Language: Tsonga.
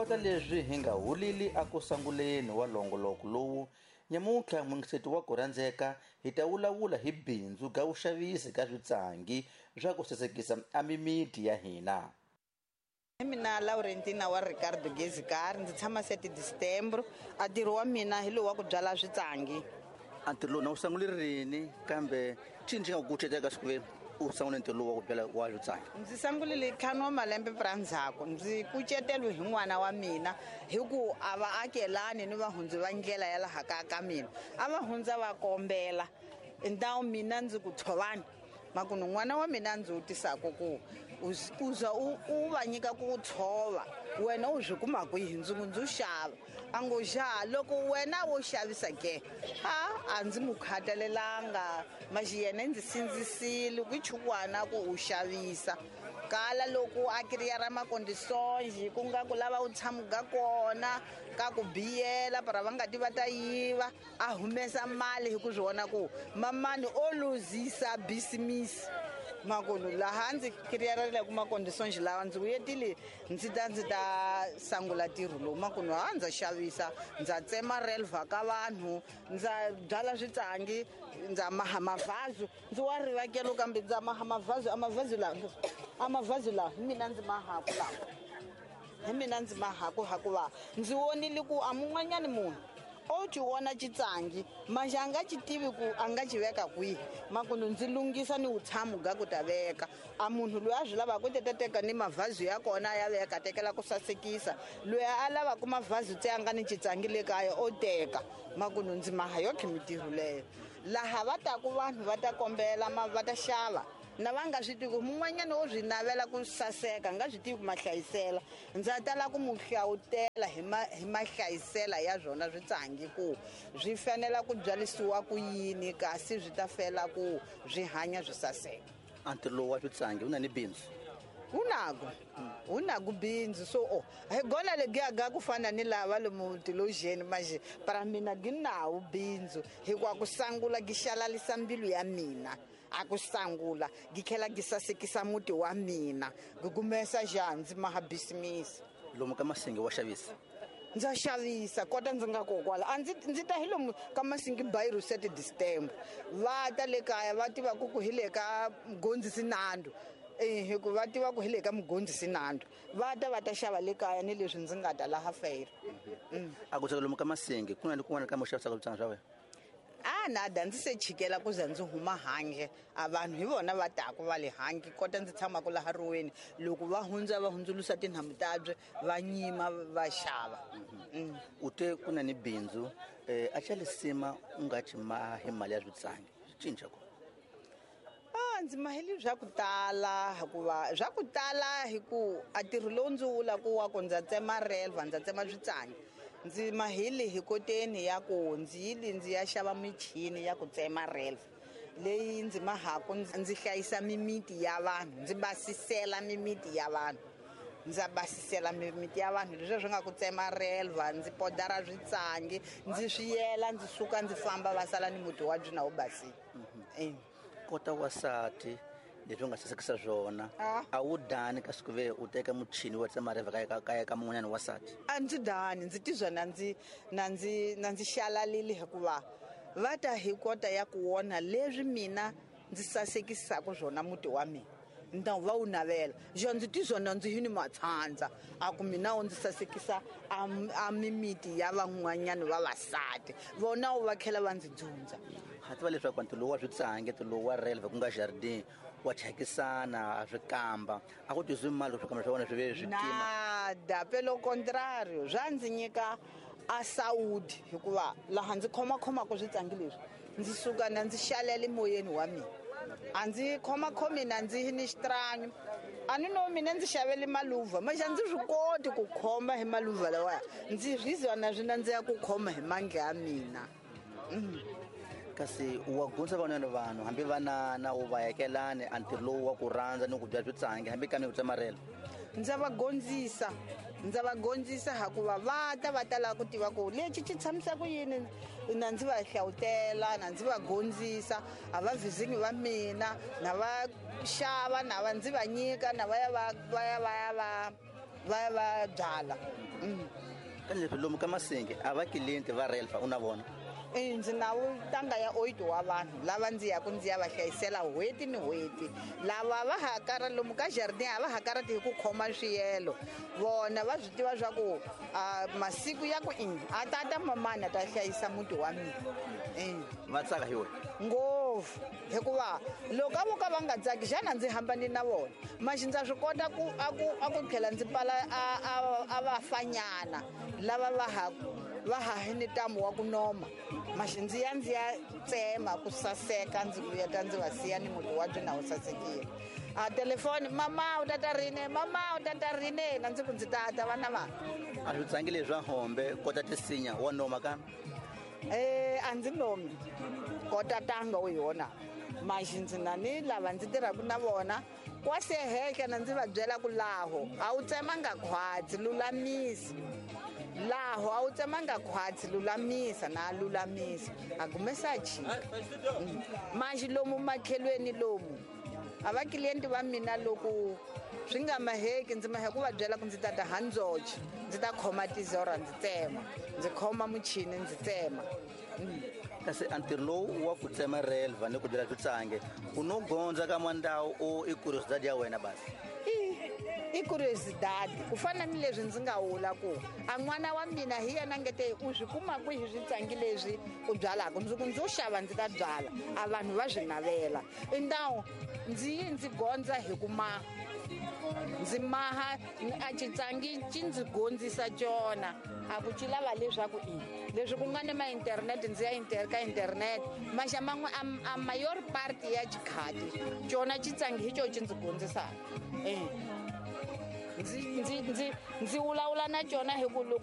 Kota leswi hi nga hulili aku sanguleni wa longoloko lowu, nyamuntlha mungiseti wa ku rhandzeka hi ta vulavula hi bindzu ga vuxavisi ka switsangi swa ku sasekisa a mimiti ya hina. Hi mina Laurentina wa Ricardo Gezikari, ndzi tshama 7 December. A ntirho wa mina hi lowu wa ku byala switsangi. A ntirho lowu na wu sangule rini, kambe cini xi nga ku kucetela ka siku leri u sangule ntirho lowu wa ku byala wa switsangi? Ndzi sangulile 5 wa malembe pra ndzhaku. Ndzi kucetelwe hi n'wana wa mina hi ku a va akelani ni vahundzi va ndlela ya laha kaya ka mina. A va hundza va kombela. Ndhawu mina ndzi ku tshovani. Makunu n'wana wa mina ndzi wu tisaka ku u za u va nyika ku tshova, wena u swi kuma kwihi? Ndzi ku ndzi u xava. A ngo xa loko wena wo xavisa ke, a ndzi n'wi khatalelanga, maxi yena ndzi sindzisile ku chukwana ku u xavisa. Kala loko a kiriyara makondisonji ku nga ku lava u tshamuga kona ka ku biyela para va nga ti va ta yiva, a humesa mali hi ku swi vona ku mamani o luzisa bisimisi. Makulu laha ndzi kiriyarela ku makondisonji lawa ndzi vuyetile ndzi ta ndzi ta sangula ntirho lowu. Makulu ha ndza xavisa, ndza tsema relva ka vanhu, ndza byala switsangi, ndza maha mavhazu, ndzi wa rivakelo kambe ndza maha mavhazu, a mavhazu lawa, a mavhazu lawa hi mina ndzi mahaku lawa. Hi mina ndzi mahaku hakuva ndzi vonile ku a mun'wanyani munhu o ti vona xitsangi manjhe a nga xi tivi ku a nga xi veka kwihi. Makunu ndzi lunghisa ni vutshamo bya ku ta veka. A munhu loyi a swi lavaka u ta teka ni mavhazu ya kona ya veka, tekela ku sasekisa. Loyi a lavaka mavhazu tse a nga ni xitsangi le kaya o teka. Makunu ndzi maha yotlhe mintirho leyo. Laha va taku vanhu va ta kombela, va ta xava. Na va nga swi tivi ku mun'wanyana wo swi navela ku saseka, nga swi tivi ku mahlayisela. Ndza tala ku mu hlawutela hi mahlayisela ya swona switsangi ku swi fanela ku byalisiwa ku yini kasi swi ta fela ku swi hanya swi saseka. A ntirho lowu wa switsangi wu na ni bindzu? Wu nako. Wu nako bindzu. So, oh, hi gona legiya ga ku fana ni lava lomu tilojeni manje, para mina gi nawo bindzu hikuva ku sangula gi xalalisa mbilu ya mina. A ku sangula gi tlhela gi sasekisa muti wa mina, gi kumesa njhani ndzi maha bisimisi. Lomu ka Masingi wa xavisa? Ndza xavisa kota ndzi nga kokwala. A ndzi ta hi lomu ka Masingi Bairro 7 December. Va ta le kaya va tiva ku ku hi le ka Mgondzisi Nando. Hi ku va tiva ku hi le ka Mgondzisi Nando. Va ta va ta xava le kaya ni leswi ndzi nga ta laha fere. A ku lomu ka Masingi ku na ni kun'wana ka mo xavisaka switsangi swa wena? A nada ndzi se chikela ku za ndzi huma handle. A vanhu hi vona va taku va le handle kota ndzi tshamaka laha riweni. Loko va hundza va hundzulusa tinhamu tabye va nyima va xava. U te ku na ni bindzu, a xa lisima u nga ci mahi mali ya switsangi swi cinca ku? A ndzi maheli swa ku tala hikuva swa ku tala hi ku a ntirho lowu ndzi wu vulaka wa ku ndza tsema relva, ndza tsema switsangi. Ndzi maheli hi koteni ya ku ndzi yile ndzi ya xava michini ya ku tsema relva leyi ndzi mahaku ndzi hlayisa mimiti ya vanhu, ndzi basisela mimiti ya vanhu. Ndza basisela mimiti ya vanhu leswi swi nga ku tsema relva, ndzi podara switsangi, ndzi swi yela, ndzi suka ndzi famba va sala ni muti wa byona wu basile. Kota wasati leswi u nga sasekisa swona, a wu dani ka siku ve u teka muchini wa tsema relva ka ka mun'wanyana wasati? A ndzi dani, ndzi tizwa na ndzi xalalile hikuva va ta hi kota ya ku vona leswi mina ndzi sasekisaka swona muti wa mina. Ndhawu va wu navela. Njo ndzi tizwa na ndzi yini matshandza. A ku mina wu ndzi sasekisa a mimiti ya van'wanyana vavasati. Vona wu va tlhela va ndzi dzundza. Ha tiva leswaku ntirho lowu wa switsangi, ntirho lowu wa relva ku nga jardin, wa thyakisana, a swi kamba. A ku tizwi mali loko swikamba swa wena swi ve swi tima. Nada, pelo contrario, swa ndzi nyika a saudi hikuva laha ndzi khomakhomaka switsangi leswi, ndzi suka na ndzi xalela emoyeni wa mina. A ndzi khomakhomi na ndzi ni xitranyo. A ni no mina ndzi xavele maluva, manje a ndzi swi koti ku khoma hi maluva lawaya. Ndzi rizwa na swi nandziha ku khoma hi mandla ya mina. Kasi wa gundza van'wanyana vanhu hambi vanana u va yakelani a ntirho lowu wa ku rhandza ni ku dya switsangi hambi kambe ku tsemarela? Ndza va gondzisa, ndza va gondzisa hikuva va ta va ta lava ku tiva ku lexi xi tshamisa ku yini, na ndzi va hlawutela, na ndzi va gondzisa, a va vizingi va mina, na va xava, na va ndzi va nyika, na va ya va, va ya va ya va, va ya va byala. Ka leswi lomu ka Masingi a va client va Relfa u na vona? Ndzi na ntanga ya 8 wa vanhu lava ndzi yaku ndzi ya va hlayisela n'hweti ni n'hweti. Lava va ha kara lomu ka jardin a va ha karati hi ku khoma swiyelo, vona va swi tiva swa ku masiku ya ku a tata mamani a ta hlayisa muti wa mina. Va tsaka hi wena ngopfu, hikuva loko a vo ka va nga tsaki xana ndzi hambani na vona. Maxi ndza swi kota ku a ku tlhela ndzi pfala a vafanyana lava va ha ni ntamu wa ku noma. Maxi ndzi ya ndzi ya tsema ku saseka, ndzi vuyeta ndzi va siya ni muti wa byi na wu sasekile. A telefoni, mama u tata rini, mama u tata rini, na ndzi ku ndzi tata vana va. A swi tsangi leswa hombe kota tisinya wa noma ka? A ndzi nomi kota tanga u yona. Maxi ndzi na ni lava ndzi tirhaka na vona kwase hehla na ndzi va byela ku laho a wu tsemanga khwatsi lulamisa, laho a wu tsemanga khwatsi lulamisa, na lulamisa a gumesa chika. Maxi lomu makhelweni lomu a va client va mina loko swi nga maheki ndzi mahe ku va byela ku ndzi tata handzoche, ndzi ta khoma tizora ndzi tsema, ndzi khoma muchini ndzi tsema. Kasi a ntirho lowu wa ku tsema Relva ni ku byela switsange u no gondza ka mandawu o i curiosidade ya wena basi? I curiosidade ku fana ni leswi ndzi nga vula ku a n'wana wa mina hi yena ngete u swi kuma kwihi switsangi leswi u byalaka, ndzi ku ndzo xava ndzi ta byala, a vanhu va swi navela. I ndawu ndzi yi ndzi gondza hi ku maha, ndzi maha a xitsangi xi ndzi gondzisa cona, a ku xi lava leswaku i leswi ku nga ni ma internet ndzi ya ka internet maxa man'we a mayor part ya xikhati cona xitsangi hi xo xi ndzi gondzisaka. Ndzi vulavula na cona hi ku loko